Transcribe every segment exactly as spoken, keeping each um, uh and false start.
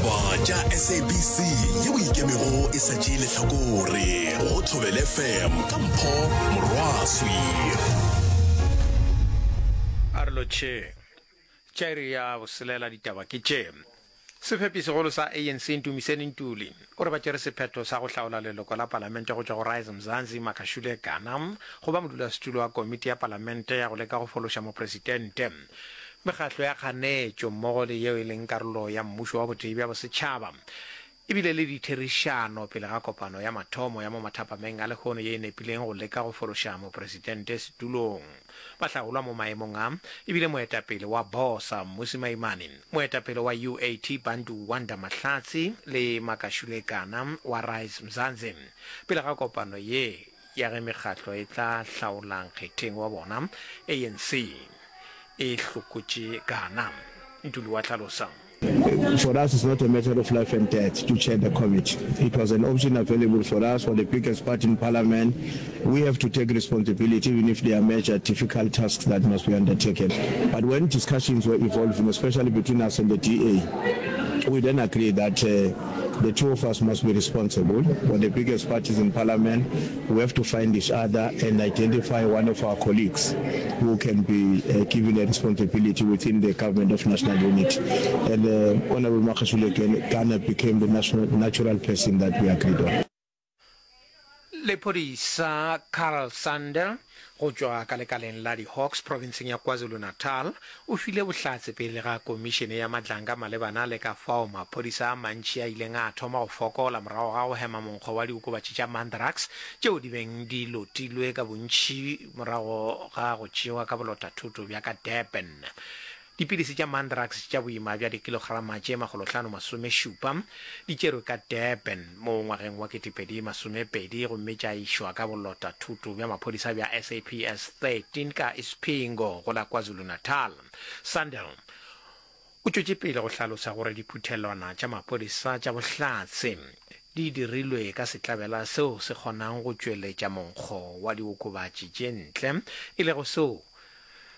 Ditaba tša S A B C yeo ikemego e sa tšee lehlakore go Thobela F M ka Mpho Morwaswi. A re lotšheng. Tša iri ya boselela ditaba ke tše. Sefepi segolo sa A N C Ntumiseni Ntuli o re ba tšere sephetho sa go hlaola leloko la palamente go tšwa go Rise Mzansi Makashule Gana go ba modulasetulo wa komiti ya palamente ya go leka go fološa mopresidente. Mekgatlo ya kganetšo mmogo le yeo e leng karolo ya mmušo wa botee bja bosetšhaba e bile le ditherišano pele ga kopano ya mathomo ya mo mathapameng a lehono ye e nepileng go leka go fološa mopresidente setulong. Bahlaolwa mo maemong a e bile moetapele wa BOSA Mmusi Maimane, moetapele wa U A T Bantu Wanda Mahlatsi le Makashule Gana wa Rise Mzansi. Pele ga kopano ye ya ge mekgatlo e tla hlaola nkgetheng wa bona, A N C e hlokotše Gana. Ntuli wa hlalosa. For us, it's not a matter of life and death to chair the committee. It was an option available for us, for the biggest party in parliament. We have to take responsibility even if there are major difficult tasks that must be undertaken. But when discussions were evolving, especially between us and the D A, we then agreed that uh, the two of us must be responsible. For the biggest parties in parliament, we have to find each other and identify one of our colleagues who can be uh, given a responsibility within the government of national unity. And uh, Honorable Makashule Gana became the national, natural person that we agreed on. Lephodisa Carl Sandel go tšwa ka lekaleng la di-Hawks provinceng ya KwaZulu-Natal o file bohlatse pele ga komišene ya Madlanga malebana le ka fao maphodisa a mantši a ileng a thoma go fokola morago ga go hema monkgo wa diokobatši tša Mandrax tšeo di beng di lotilwe ka bontši morago ga go tšewa ka bolotathoto bja ka Durban. Dipilisi tša Mandrax tša boima bja dikilograma tše makgolohlano masomešupa di tšerwe ka Durban mo ngwageng wa ketepedi masomepedi gomme tša išwa ka bolotathoto bja maphodisa bja S A P S thirteen ka Isipingo go la KwaZulu-Natal. Sandel o tšwetše pele go hlalosa gore diphuthelwana tša maphodisa tša bohlatse di dirilwe ka setlabela seo se kgonang go tšweletša monkgo wa diokobatši tše ntle, e lego seo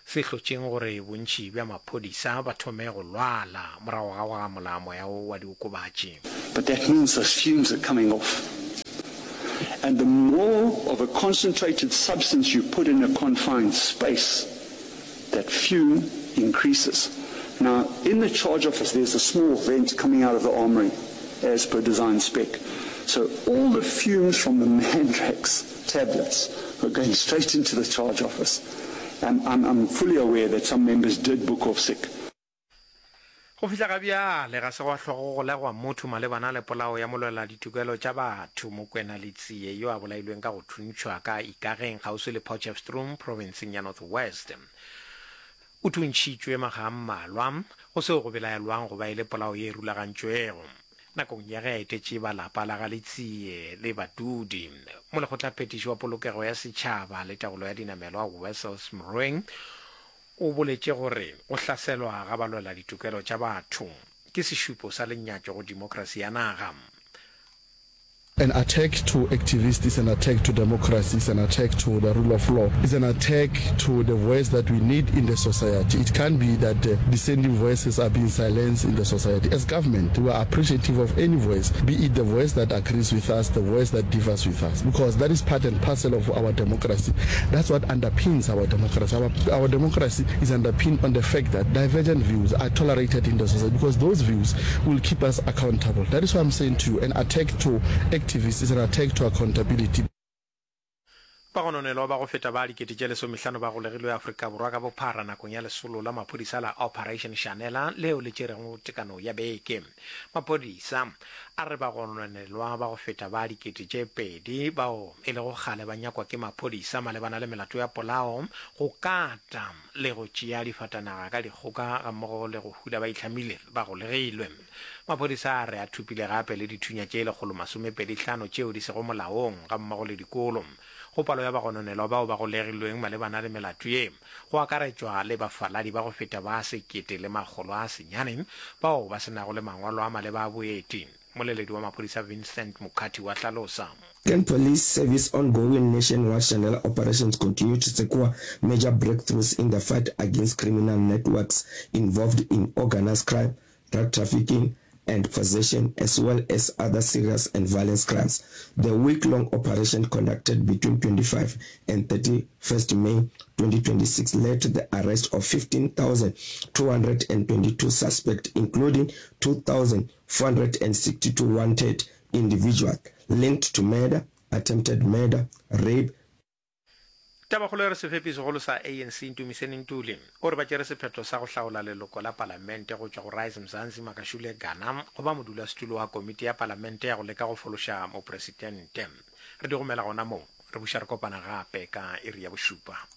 se hlotšeng gore bontši bja maphodisa ba thome go lwala morago ga go gamola moya wo wa diokobatši. But that means those fumes are coming off. And the more of a concentrated substance you put in a confined space, that fume increases. Now, in the charge office, there's a small vent coming out of the armory as per design spec. So all the fumes from the Mandrax tablets were going straight into the charge office. Um, I'm, I'm fully aware that some members did book off sick. Go fihla ga bjale ga se gwa hlwa go golegwa motho malebana le polao ya molwela ditokelo tša batho Mokwena Letsie yo a bolailweng ka go thuntšhwa ka Ikageng kgauswi le Potchefstroom provinceng ya North West. O thuntšhitšwe makga a mmalwa go seo go belaelwang go ba e le polao ye e rulagantšwego. Nakong ya ge a etetše ba lapa la ga Letsie le badudi, molekgotlaphethiši wa polokego ya setšhaba le taolo ya dinamelwa Wessels Mroeng o boletše gore go hlaselwa ga balwela ditokelo tša batho ke sešupo sa lenyatšo go demokrasi ya naga. An attack to activists is an attack to democracy, is an attack to the rule of law, is an attack to the voice that we need in the society. It can't be that the dissenting voices are being silenced in the society. As government, we are appreciative of any voice, be it the voice that agrees with us, the voice that differs with us, because that is part and parcel of our democracy. That's what underpins our democracy. Our, our democracy is underpinned on the fact that divergent views are tolerated in the society, because those views will keep us accountable. That is why I'm saying to you, an attack to activists is an attack to accountability. Bagononelwa ba go feta ba dikete tše lesomehlano ba golegilwe Afrika Borwa ka bophara nakong ya lesolo la maphodisa la Operation Shanela leo le tšerego tekano ya beke. Maphodisa a re bagononelwa ba go feta ba dikete tše pedi bao e lego kgale ba nyakwa ke maphodisa malebana le melato ya polao, go kata le go tšea difatanaga ka dikgoka gammogo le go hula ba itlhamile ba golegilwe. Maphodisa a re a thopile gape le dithunya tše lekgolo masomepedi hlano tšeo di sego molaong gammogo le dikolo. Go palo ya bagononelwa bao ba golegilweng malebana le melato ye go akaretšwa le bafaladi ba go feta ba sekete le makgolo a senyane bao ba se nago le mangwalo a maleba a boeti. Moleledi wa maphodisa Vincent Mukhathi wa hlalosa. Gauteng Police Service ongoing nationwide Shanela operations continue to secure major breakthroughs in the fight against criminal networks involved in organized crime, drug trafficking and possession, as well as other serious and violent crimes. The week-long operation conducted between twenty-five and thirty-first May twenty twenty-six led to the arrest of fifteen thousand two hundred twenty-two suspects, including two thousand four hundred sixty-two wanted individuals linked to murder, attempted murder, rape, Tabakgolo e re sefepi segolo sa A N C Ntumiseni Ntuli o re ba tšere sephetho sa go hlaola leloko la palamente go tšwa go Rise Mzansi Makashule Gana go ba modulasetulo wa komiti ya palamente ya go leka go fološa mopresidente. Re di gomela gona moo, re buša re kopana gape ka iri ya bošupa.